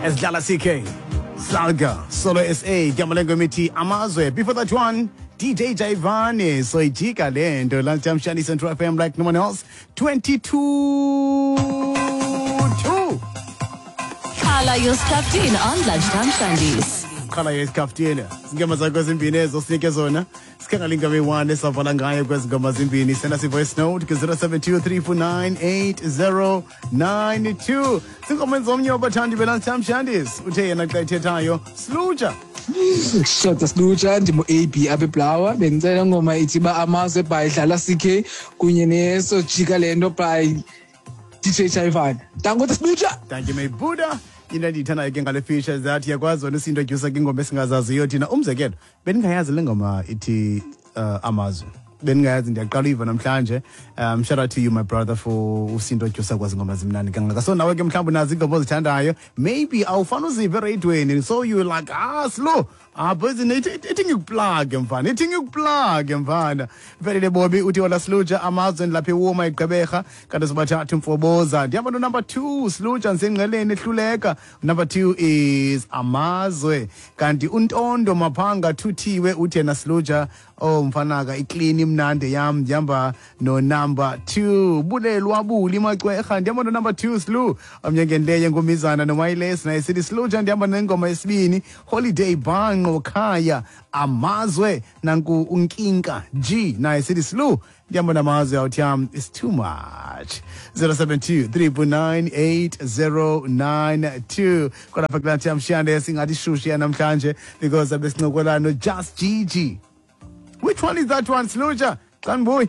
Esidlala CK Salga Solo SA gama lengoma ithi Amazwe. Before that one, DJ Jaivane, Soyijika Lento. Lunchtime Shandy, Central FM like no one else. 22 2. Khala yosikhaftini on Lunchtime Shandies. Qhala yesikhaftini, zingoma zakho zimbini ezo sinike zona. Sikhangela ingoma eyi-1 esavala ngayo kwezi ngoma zimbini. Senda si-voice note ku-072 349 8092. Zingoma zomnye wabathandi be-Lunchtime Shandies, uthe yena xa ethethayo, "Slutsha." Shota Slutsha, ndingu-AB apha eBlawa. Bendicela ngoma ithi uba Amazwe by Dlala CK kunye neSojika Le Nto by DJ Chaivana. Danko Slutsha. Thank you, my Buddha. Into endiyithandayo ke ngale feature is that iyakwazi wena usi-introduce kwingoma esingazaziyo thina. Umzekelo, bendingayazi le ngoma ithi Amazwe, bendingayazi, ndiyaqala uyiva namhlanje. Shout out to you, my brother, for usi-introduce kwazi ngoma zimnandi kangaka. So nawe ke mhlawumbi unazo iingoma ozithandayo, maybe awufani uzive ereyidweni, so you like, "Ah, slow, ah boys, ithi ngikuplage mfana, ithi ngikuplage mfana." Velile Bobi uthi, "Hola Sluja, Amazwe, ndilapha iwuma iGqeberha, kanti sibathathu mfoboza. Ndihamba no-number 2, Sluja, ndisengqeleni ehluleka. Number 2 is Amazwe." Kanti uNtondo Maphanga Thuthiwe uthi yena, "Sluja, oh mfanaka, iclean, imnandi yam, ndihamba no-number 2." Bulelwa Buli Macwerha, "Ndihamba no-number 2, Slu." Omnye ngenleye ngumizana nomayiles naye sithi, "Sluja, ndihamba nengoma yesibini, Holiday Banqo Khaya, Amazwe." Nanku unkinka G naye sithi, "Slu, ndihamba namazwe." Awuthi it's too much. 072 349 8092 kwalapha kulaa mshiyane. Singathi shushu yanamhlanje because abesincokola no-Just Gigi. Which one is that one, Sluja? Xa ndibuye.